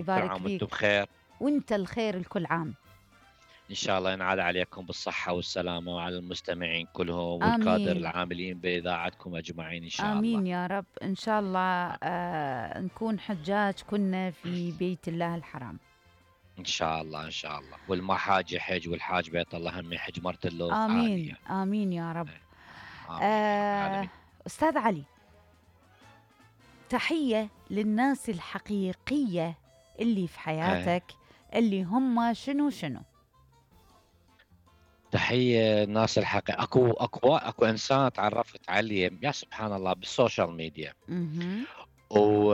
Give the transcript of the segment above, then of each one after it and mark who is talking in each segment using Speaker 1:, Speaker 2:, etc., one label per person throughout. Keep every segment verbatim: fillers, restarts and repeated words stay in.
Speaker 1: كل
Speaker 2: يبارك
Speaker 1: عام وانتم
Speaker 2: فيك.
Speaker 1: بخير.
Speaker 2: وانت الخير الكل عام.
Speaker 1: ان شاء الله ينعاد عليكم بالصحة والسلامة وعلى المستمعين كلهم والكادر
Speaker 2: آمين
Speaker 1: العاملين بإذاعتكم أجمعين إن شاء الله.
Speaker 2: آمين يا رب. إن شاء الله آه نكون حجاج كنا في بيت الله الحرام.
Speaker 1: إن شاء الله إن شاء الله، والمحاج يحج والحاج بيت الله هم يحج مرة له
Speaker 2: آمين
Speaker 1: عالية.
Speaker 2: آمين يا رب.
Speaker 1: آمين يا رب
Speaker 2: آه
Speaker 1: العالمين.
Speaker 2: أستاذ علي، تحية للناس الحقيقية اللي في
Speaker 1: آه.
Speaker 2: حياتك اللي هم شنو شنو.
Speaker 1: تحية الناس الحقيقية. اكو اكو اكو انسان تعرفت عليه يا سبحان الله بالسوشيال ميديا،
Speaker 2: اها
Speaker 1: و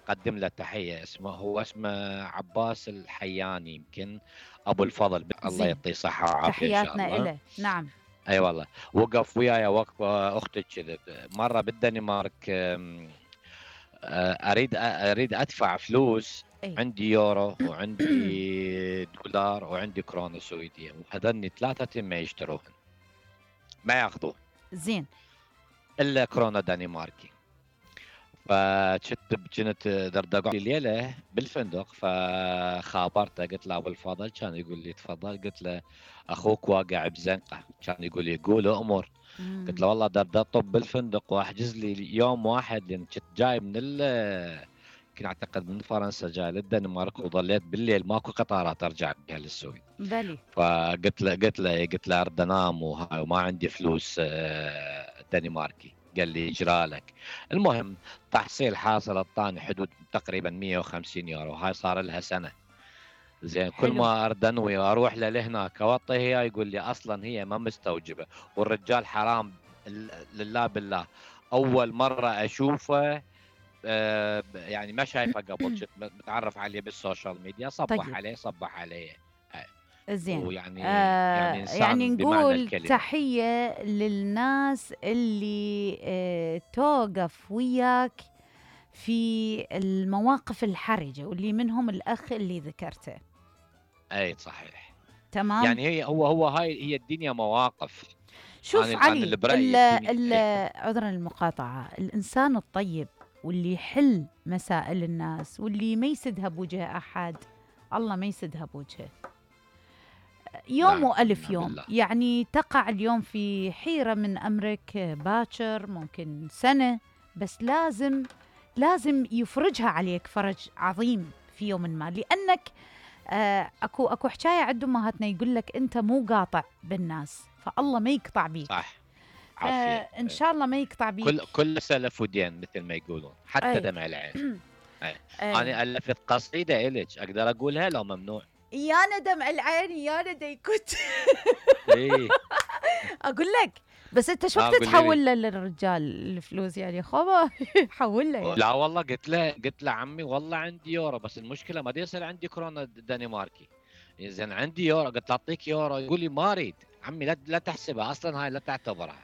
Speaker 1: اقدم له تحية. اسمه هو اسمه عباس الحياني، يمكن ابو الفضل، الله
Speaker 2: زين،
Speaker 1: يعطيه صحة وعافية ان شاء
Speaker 2: تحياتنا
Speaker 1: الله.
Speaker 2: إله. نعم.
Speaker 1: اي أيوة والله. وقف وياي وقفة اختك كذا مرة بالدنمارك. أم، اريد اريد ادفع فلوس،
Speaker 2: اي
Speaker 1: عندي يورو وعندي دولار وعندي كورونا سويدية، وهذني ثلاثة ما يشتروهن ما ياخذوه
Speaker 2: زين.
Speaker 1: الا كورونا دنماركي. فكنت كنت دردقة ليلة بالفندق، فخابرته قلت له ابو الفضل، كان يقول لي تفضل. قلت له اخوك واقع بزنقه، كان يقول لي قول امر. قلت له والله دردطب بالفندق واحجز لي يوم واحد، لان كنت جاي من ال كنت اعتقد من فرنسا جاي للدنمارك، وظليت بالليل ماكو قطارات ارجع بها للسويد.
Speaker 2: بلي.
Speaker 1: فقلت له قلت له قلت له ارد انام وما عندي فلوس دنماركي. قال لي اجرى لك. المهم تحصيل حاصل اعطاني حدود تقريبا مية وخمسين يورو، هاي صار لها سنه. زين كل
Speaker 2: حلو.
Speaker 1: ما ارد انوي اروح له لهناك اوطي هي، يقول لي اصلا هي ما مستوجبه. والرجال حرام لله بالله، اول مره اشوفه. آه يعني ما شايفه قبل، كنت متعرف عليه بالسوشيال ميديا، صبح
Speaker 2: طيب
Speaker 1: عليه صبح عليه.
Speaker 2: زين.
Speaker 1: ويعني يعني
Speaker 2: آه يعني
Speaker 1: انسان بمعنى
Speaker 2: نقول
Speaker 1: الكلمه.
Speaker 2: تحية للناس اللي آه توقف وياك في المواقف الحرجة، واللي منهم الأخ اللي ذكرته.
Speaker 1: اي صحيح.
Speaker 2: تمام.
Speaker 1: يعني هي هو هو هاي هي الدنيا مواقف.
Speaker 2: شوف
Speaker 1: انا انا
Speaker 2: علي،
Speaker 1: اللي برايي
Speaker 2: ال
Speaker 1: الدنيا
Speaker 2: ال
Speaker 1: اي.
Speaker 2: عذرا المقاطعة، الإنسان الطيب واللي يحل مسائل الناس واللي ما يسدها بوجه أحد، الله ما يسدها بوجهه. يوم
Speaker 1: نعم
Speaker 2: وألف
Speaker 1: نعم
Speaker 2: يوم،
Speaker 1: بالله.
Speaker 2: يعني تقع اليوم في حيرة من أمرك باكر، ممكن سنة، بس لازم لازم يفرجها عليك فرج عظيم في يوم ما، لأنك آه أكو أكو حكاية عند أمهاتنا يقول لك أنت مو قاطع بالناس، فالله ما يقطع بيك.
Speaker 1: صح. عافيه.
Speaker 2: فإن شاء الله ما يقطع بيك.
Speaker 1: كل كل سلف ودين مثل ما يقولون، حتى
Speaker 2: أي.
Speaker 1: دمع العين. أي.
Speaker 2: أي.
Speaker 1: انا الفت قصيده الك، اقدر اقولها لو ممنوع؟
Speaker 2: يا ندم العين يا ندم كنت
Speaker 1: ايه
Speaker 2: اقول لك، بس انت شو
Speaker 1: اه قولي
Speaker 2: بتتحول
Speaker 1: لي.
Speaker 2: له للرجال الفلوس يعني خبا حول له يعني.
Speaker 1: لا والله قلت له قلت له عمي والله عندي يورو، بس المشكله ما يصير عندي كورونا دنماركي. زين عندي يورو، قلت له اعطيك يورو، يقول لي ما اريد عمي، لا لا تحسبها اصلا، هاي لا تعتبرها.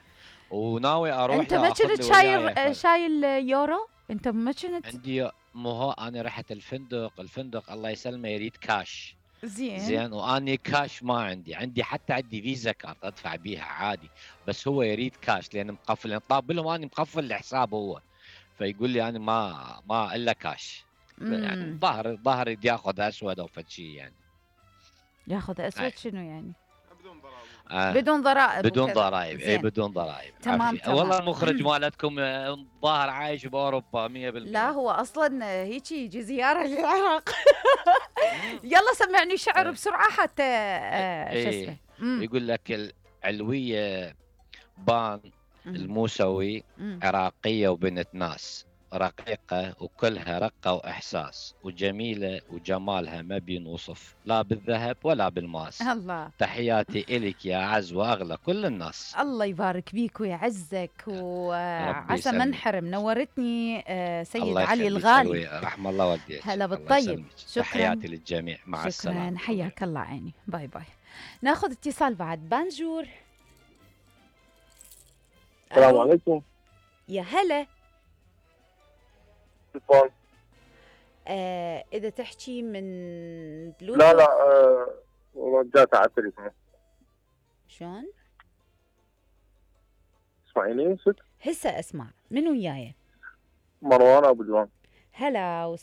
Speaker 1: وناوي اروح
Speaker 2: انت ما
Speaker 1: له اخذ
Speaker 2: كنت
Speaker 1: لي وياي
Speaker 2: شايل
Speaker 1: ف...
Speaker 2: شايل يورو؟ انت ما كنت؟
Speaker 1: عندي مو هو انا رحت الفندق، الفندق الله يسلمه يريد كاش.
Speaker 2: زين.
Speaker 1: زين واني كاش ما عندي، عندي حتى عندي فيزا كارت ادفع بيها عادي، بس هو يريد كاش لان مقفل، يعني طاب لهم اني مقفل الحساب هو. فيقول لي انا ما ما الا كاش. يعني
Speaker 2: امم
Speaker 1: ظهر ظهر يدي ياخذ اسود او فد شيء يعني.
Speaker 2: ياخذ
Speaker 1: أي.
Speaker 2: اسود شنو يعني؟
Speaker 1: آه.
Speaker 2: بدون ضرائب
Speaker 1: بدون
Speaker 2: وكذا.
Speaker 1: ضرائب، اي
Speaker 2: زين.
Speaker 1: بدون ضرائب.
Speaker 2: تمام
Speaker 1: عافيه
Speaker 2: تمام.
Speaker 1: والله المخرج مالتكم آه، ظاهر عايش باوروبا مية بالمية.
Speaker 2: لا هو اصلا هيك يجي زياره للعراق. يلا سمعني شعر
Speaker 1: ايه
Speaker 2: بسرعه حتى آه شو اسمه.
Speaker 1: ايه.
Speaker 2: امم
Speaker 1: يقول لك العلويه بان
Speaker 2: امم
Speaker 1: الموسوي،
Speaker 2: امم
Speaker 1: عراقية وبنت ناس، رقيقة وكلها رقة وإحساس، وجميلة وجمالها ما بينوصف لا بالذهب ولا بالماس.
Speaker 2: الله.
Speaker 1: تحياتي إلك يا أعز وأغلى كل الناس.
Speaker 2: الله يبارك بيك ويعزك،
Speaker 1: ربي
Speaker 2: وعسى ما
Speaker 1: يسلمك.
Speaker 2: انحرم. نورتني آه، سيد
Speaker 1: الله
Speaker 2: علي
Speaker 1: يخليك
Speaker 2: الغالي.
Speaker 1: علوي، رحم الله والديك.
Speaker 2: هلا
Speaker 1: الله
Speaker 2: بالطيب.
Speaker 1: يسلمك.
Speaker 2: شكرا.
Speaker 1: تحياتي للجميع، مع
Speaker 2: شكرا،
Speaker 1: السلامة.
Speaker 2: حياك الله عيني. باي باي. ناخذ اتصال بعد. بانجور.
Speaker 3: السلام
Speaker 2: الو.
Speaker 3: عليكم.
Speaker 2: يا هلا.
Speaker 3: تليفون.
Speaker 2: آه اذا تحكي من بلوتوث.
Speaker 3: لا لا آه رجعت على التليفون.
Speaker 2: شلون؟
Speaker 3: اسمعيني ست.
Speaker 2: هسه اسمع. من وياي؟
Speaker 3: مروان ابو جوان.
Speaker 2: هلا